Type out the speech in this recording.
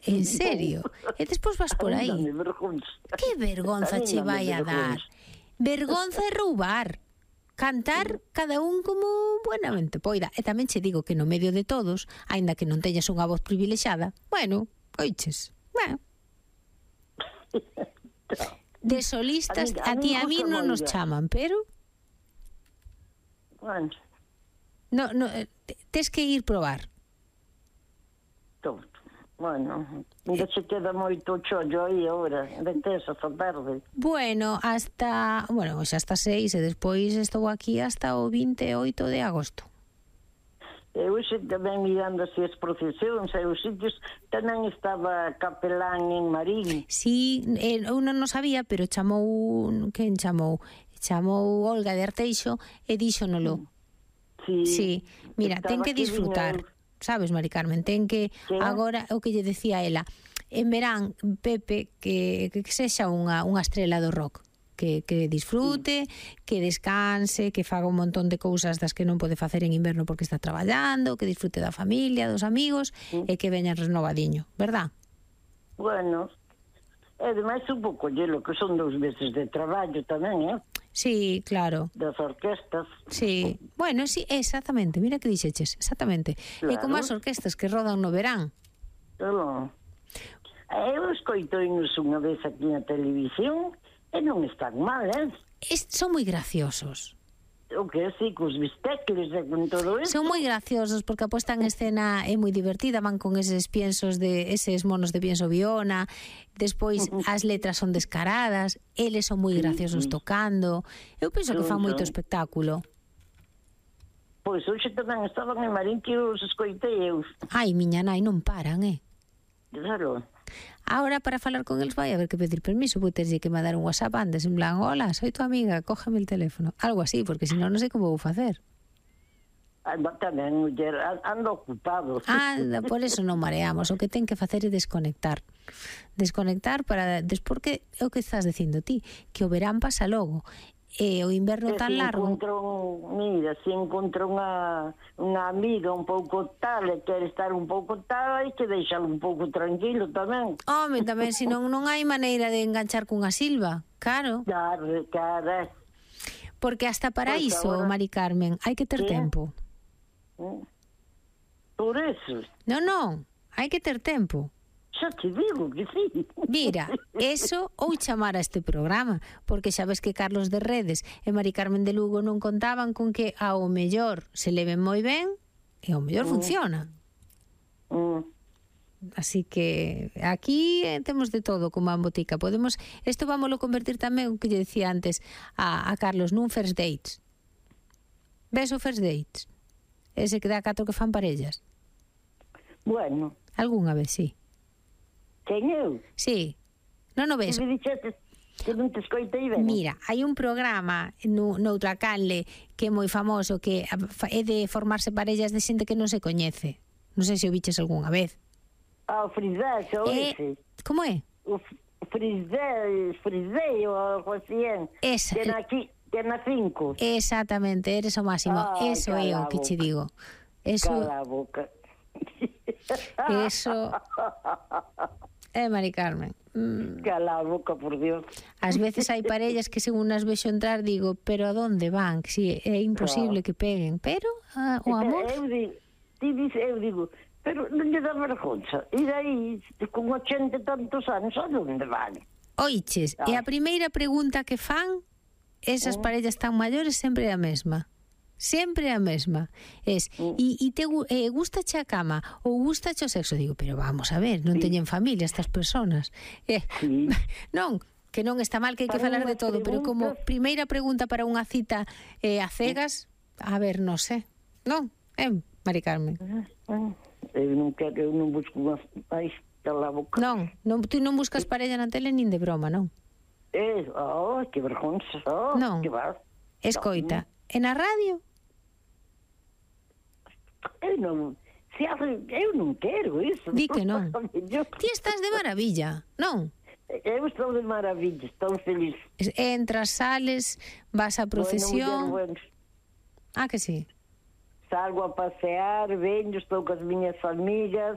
En serio? E despois vas por aí. Que vergonza che vai a dar. Vergonza é roubar. Cantar cada un como buenamente poida. E tamén che digo que no medio de todos, aínda que non teñas unha voz privilexada, bueno, oiches, bueno. De solistas a ti a mí non nos chaman, pero bueno, no, tes que ir probar. Bueno, ainda se queda moito chollo aí agora, vete esa tarde. Bueno, xa hasta 6 e despois estou aquí hasta o 28 de agosto. Eu xe tamén mirando así as procesións e os sitios, tamén estaba capelán en Marín. Sí, eu non sabía, pero quen chamou? Chamou Olga de Arteixo e díxonolo. Sí, mira, ten que disfrutar. Sabes, Mari Carmen, ten que agora o que lle decía ela, en verán, Pepe, que sexa unha estrela do rock, que disfrute, que descanse, que faga un montón de cousas das que non pode facer en inverno porque está traballando, que disfrute da familia, dos amigos e que veña renovadiño, verdad? Bueno, e ademais un pouco llelo, que son 2 meses de traballo tamén, Sí, claro. Das orquestas. Sí, bueno, sí, exactamente, mira que dixeches, exactamente. Claro. E como as orquestas que rodan no verán. Claro. Eu escoitoinos unha vez aquí na televisión e non están mal, Son moi graciosos. O que sí, cos bistecles e con todo eso. Son moi graciosos porque a posta en escena é moi divertida, van con eses monos de pienso Viona, despois as letras son descaradas, eles son moi graciosos tocando. Eu penso que fan moito espectáculo. Pois hoxe tamén estaban en Marín que os escoitei eu. Ai, miña nai, non paran, Claro. Ahora para falar con eles vai haber que pedir permiso, vou terlle que mandar un WhatsApp antes, en plan, hola, soy tu amiga, cógeme el teléfono, algo así, porque senón non sei como vou facer. Tamén, muller, ando ocupado. Por eso non mareamos, o que ten que facer é desconectar para porque é o que estás dicindo ti, que o verán pasa logo. E o inverno tan largo. Se encontra unha amiga un pouco tal e quere estar un pouco tal, hai que deixalo un pouco tranquilo tamén. Home, tamén, senón non hai maneira de enganchar cunha silva, claro. Claro. Porque hasta para iso, Mari Carmen, hai que ter tempo. Por eso. Non, hai que ter tempo. Xa te digo que sí. Mira, eso ou chamar a este programa, porque xa ves que Carlos de Redes e Mari Carmen de Lugo non contaban con que ao mellor se leven moi ben e ao mellor funciona. Así que aquí temos de todo como a botica. Isto vámoslo convertir tamén, o que lle decía antes a Carlos, nun first dates. Ves o first dates? Ese que dá 4 que fan parellas. Bueno. Algúnha vez, sí. Quen eu? Sí. Non o ves? Que non te escoitei ben. Mira, hai un programa noutra canle que é moi famoso, que é de formarse parellas de xente que non se coñece. Non sei se o viches algunha vez. O frisé, xa o vixe. Como é? O frisé ou algo así. Esa. Que na 5. Exactamente, eres o máximo. Eso é o que che digo. Cala a boca. Eso... Mari Carmen. Cala a boca, por Dios. Ás veces hai parellas que según as vexo entrar digo, pero a donde van? Si é imposible que peguen, pero o amor... Eu digo, pero non lle dá vergonza. E aí, con 80 e tantos anos, a donde van? Oiches, e a primeira pregunta que fan, esas parellas tan maiores sempre é a mesma. Sempre a mesma. E te gustache a cama ou gustache o sexo? Digo, pero vamos a ver, non teñen familia estas personas. Non, que non está mal, que hai que falar de todo, pero como primeira pregunta para unha cita a cegas, a ver, non sei. Non, Mari Carmen? Eu non busco unha... Ai, cala a boca. Non, tú non buscas parella na tele nin de broma, non? Que vergonza. Non, escoita, e na radio? Eu non quero iso. Di que non. Ti estás de maravilla, non? Eu estou de maravilla, estou feliz. Entras, sales, vas a procesión. Bueno. Que sí? Salgo a pasear, veño, estou cas miñas amigas,